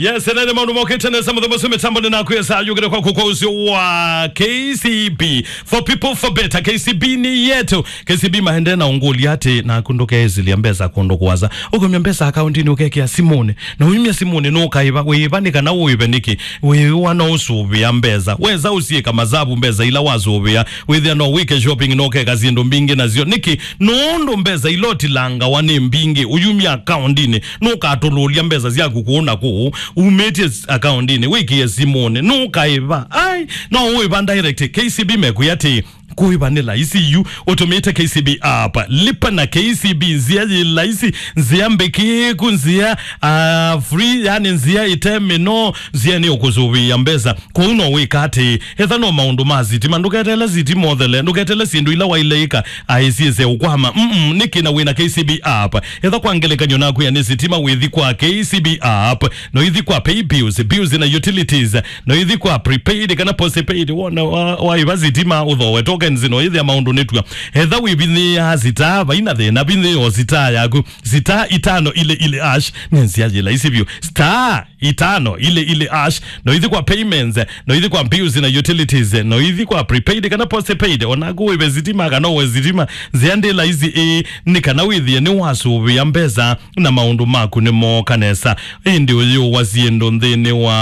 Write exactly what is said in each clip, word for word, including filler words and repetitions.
Yes, ene nĩ maũndũ mokĩte nesa mũthemba ũcio mĩtambo nĩ nakwĩsa yũkĩte kwaku kwa ũsio wa K C B. For people, for better. K C B nĩ yetu. K C B maendee na ũngũlya atĩ naku ndũkeĩsĩlya mbesa kũndũ kũasa. Ũkaumya mbesa akaũndinĩ ũkekĩa simũnĩ. Na ũimya simũnĩ nũkaĩva. Wĩĩva nĩ kana ũĩve nĩkĩ? Wĩĩwa no ũsũvĩa mbesa. Wesa ũsiĩka masavu mbesa ila wasũvĩa. Wĩthĩa no wĩke shopping na ũkeka syĩndũ mbingĩ nasyo. Nĩkĩ? Nũndũ mbesa ila ũtilangawa nĩ mbingĩ. Ũyumya akaũndinĩ. Nũkatũlũlya mbesa syaku kũũ na kũũ. Umĩtye s-, akaũndinĩ. Wĩkĩe simũnĩ. Nũkaĩva. Ai, no ũĩva direct. K C B mekwĩa atĩ kũĩva nĩ laisi yu ũtũmĩte K C B app. Lipa na K C B, nzĩa yĩ laisi, nzĩa mbĩkĩĩku, nzĩa, ah, free, yani nzĩa ĩte mĩnoo, nzĩa nĩ ũkũsũvĩĩa mbesa. Kwoou no wĩka atĩ, etha no maũndũ ma sitima, ndũketele sitima ũthele, ndũketele syĩndũ ila waile ĩka, aĩ syĩse ũkwama. Mm-mm, nĩkĩ na wĩna K C B app? Etha kwa ngelekany'o nakwĩa nĩ sitima wĩthi kwa K C B app, no ithi kwa pay bills, bills na utilities, no ithi kwa prepaid kana postpaid, wona wa, waĩva sitima ũthowe tokens, no ithĩa maũndũ nĩtw'a. Etha wĩvinyĩĩa star, vaina thĩna, vinyĩĩa o star yaku, star itano ile ile hash, nĩ nzĩa yĩ laisi vyũ. Star itano ile ile hash, no ithi kwa payments, no ithi kwa bills na utilities, no ithi kwa prepaid kana postpaid, onaku wĩve sitima kana ũwe sitima, nzĩa ndĩ laisi ĩĩ, nĩ kana wĩthĩe nĩwasũvĩa mbesa na maũndũ maku nĩmooka nesa. Ĩndĩ ũyĩũwa syĩndũ nthĩnĩ wa,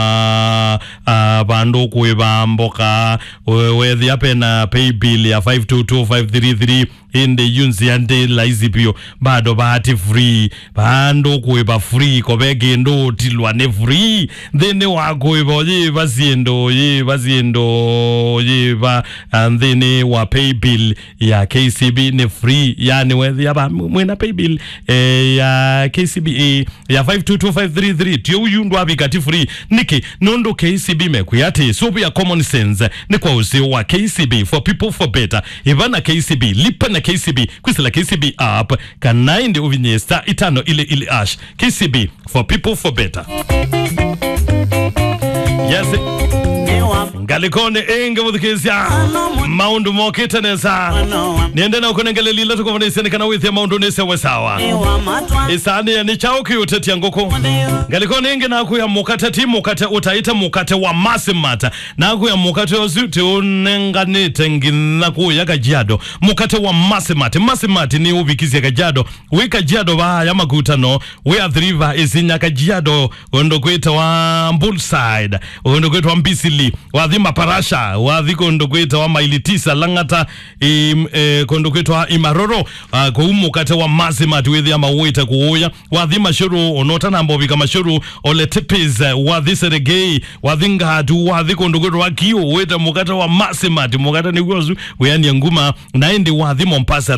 ah, vandũ kũĩva mboka, we-, wethĩa pena pay bill ya five two two five three three, ĩndĩ yu nzĩa ndĩ laisi vyũ, bado vaati free, vandũ kũĩva free, kove kĩndũ ũtilwa nĩ free. Nthĩnĩ wa kũĩva ũyĩva syĩndũ, ũyĩva syĩndũ, ũyĩva, ah, nthĩnĩ wa pay bill ya K C B nĩ free. Yani wethĩa va mwĩna pay bill, eh, ya K C B, eh, ya five two two five three three, ti ũyu ndwavika ti free. Nĩkĩ? Nũndũ K C B mekwĩa atĩ, sũvĩa common sense, nĩ kwa ũseo wa K C B, for people, for better. Ĩva na K C B, lipa na K C B, kwĩsĩla K C B app, kana ĩndĩ ũvinyĩe star itano ile ile hash. K C B, for people, for better. Yes. Ngalĩkonĩ ĩngĩ mũthikĩĩsya, maũndũ mokĩte nesa. Nĩende na ũkũnengelelile tũkũvonĩsye nĩ kana wĩthĩe maũndũ nĩsewe sawa. Ĩsanĩa nĩ kyaũ kĩũtetya ngũkũ? Ngalĩkonĩ ĩngĩ nakwĩa mũkate, ti mũkate ũtaĩte, mũkate wa Massimat. Nakwĩa mũkate ũsu tĩũnenganĩte nginya kũya Kajiado. Mũkate wa Massimat. Massimat nĩ ũvikisye Kajiado. Wĩ Kajiado vaaya makutano, wĩ Athi River, Isinya, Kajiado, kũndũ kwĩtawa Bullside, kũndũ kwĩtawa Mbisili, wathi Maparasha, wathi kũndũ kwĩtawa Maili Tisa, Lang'ata, im-, eh, kũndũ kwĩtawa Imaroro, ah, kũu mũkate wa Massimat wĩthĩa mawĩte kũũya, wathi Mashuru, ona ũtanamba ũvika Mashuru, Ole Tipis, eh, wathi Seregei, wathi Ngatu, wathi kũndũ kwĩtawa Kiu, wĩte mũkate wa Massimat, mũkate nĩguo ũsu, wĩanĩa nguma, na ĩndĩ wathi Mombasa,